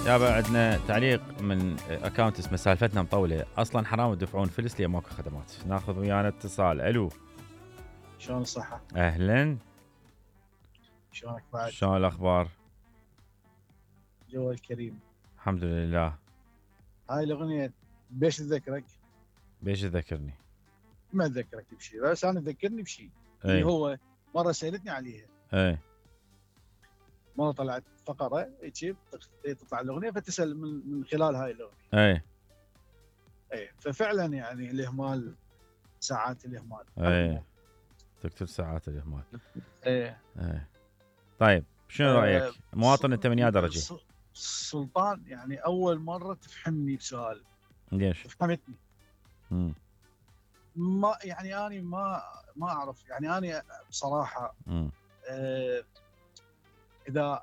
يابا عندنا تعليق من اكونت اسمه سالفتنا مطوله، اصلا حرام تدفعون فلس لي ماكو خدمات. ناخذ ويانا اتصال. الو، شلون الصحة؟ اهلا، شلونك بعد؟ شلون الاخبار؟ جو الكريم. الحمد لله. هاي الأغنية بيش تذكرك؟ بيش تذكرني؟ ما تذكرك بشيء، بس أنا تذكرني بشيء اللي هو مرة سألتني عليها. اي مرة طلعت فقرة هيك تطلع الأغنية فتسأل من خلال هاي الأغنية. اي ففعلا يعني الإهمال، ساعات الإهمال. اي تكتب ساعات الإهمال. ايه طيب شنو رأيك؟ مواطن انت من يا درجة؟ سلطان يعني أول مرة تفهمني بسؤال. ليش؟ فهمتني. ما يعني أنا ما أعرف، يعني أنا بصراحة إذا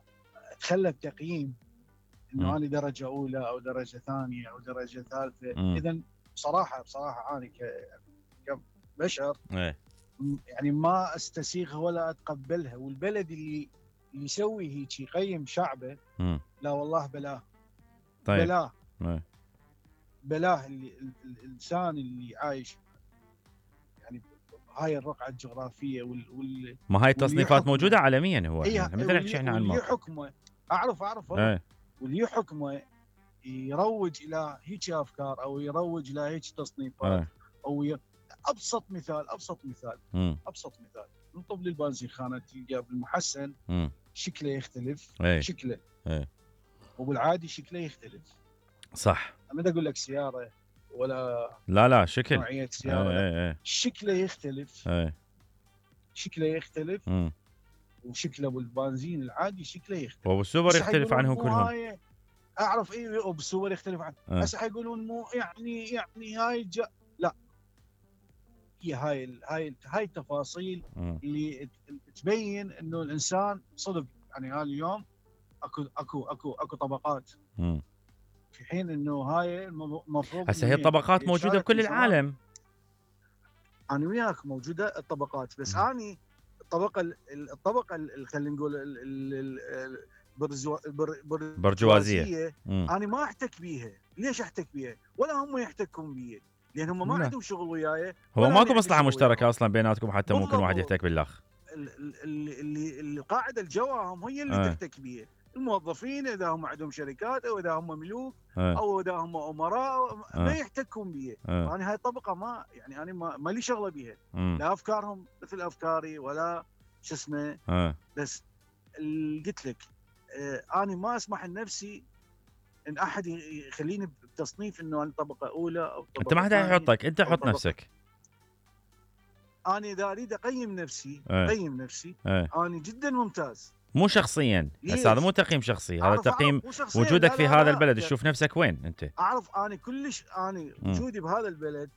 تخلى التقييم إنه أنا درجة أولى أو درجة ثانية أو درجة ثالثة، إذا بصراحة أنا كبشر يعني ما أستسيغها ولا أتقبلها. والبلد اللي يسوي هيك يقيم شعبه، لا والله بلاه. طيب. بلاه الإنسان اللي عايش يعني هاي الرقعة الجغرافية ما هاي التصنيفات موجودة عالميا. هو يعني مثل نحكي احنا عن واللي يحكمه أعرف واللي يحكمه يروج إلى هيك أفكار أو يروج إلى هيك تصنيفات أو أبسط مثال نطب للبنزين خانة تلقى بالمحسن شكله يختلف. شكله وبالعادي شكله يختلف. صح. ما اقول لك سيارة ولا لا شكل نوعية سيارة. شكله يختلف. شكله يختلف. وشكله بالبنزين العادي شكله يختلف. وبالسوبر يختلف عنهم كلهم. اعرف وبالسوبر يختلف عنه. هسه حيقولون مو يعني هاي لا، هي هاي التفاصيل اللي تبين انه الانسان صدق. يعني هاي اليوم اكو طبقات، في حين انه هاي المفروض هسه هي الطبقات موجوده بكل العالم. انا وياك موجوده الطبقات، بس اني الطبقه خلينا نقول برجوازيه انا ما احتك بيها. ليش احتك بيها؟ ولا هم يحتكون بي، لان هم ما عندهم شغل وياي. هو ماكو مصلحه مشتركه اصلا بيناتكم حتى ممكن واحد يحتك بالاخ. اللي القاعده الجواهم هي اللي تحتك بيها. الموظفين اذا هم عندهم شركات او اذا هم ملوك او اذا هم امراء ما يحتكون بيه. انا هاي الطبقه ما يعني انا ما لي شغله بيها. لا افكارهم مثل افكاري ولا شو اسمه. بس قلت لك انا ما اسمح لنفسي ان احد يخليني بتصنيف انه انا طبقه اولى او طبقه. انت ما حدا يحطك، انت حط نفسك. انا اذا اريد اقيم نفسي انا جدا ممتاز. مو شخصيا، هذا مو تقييم شخصي، هذا تقييم وجودك في هذا البلد. تشوف نفسك وين انت. اعرف انا كلش وجودي بهذا البلد.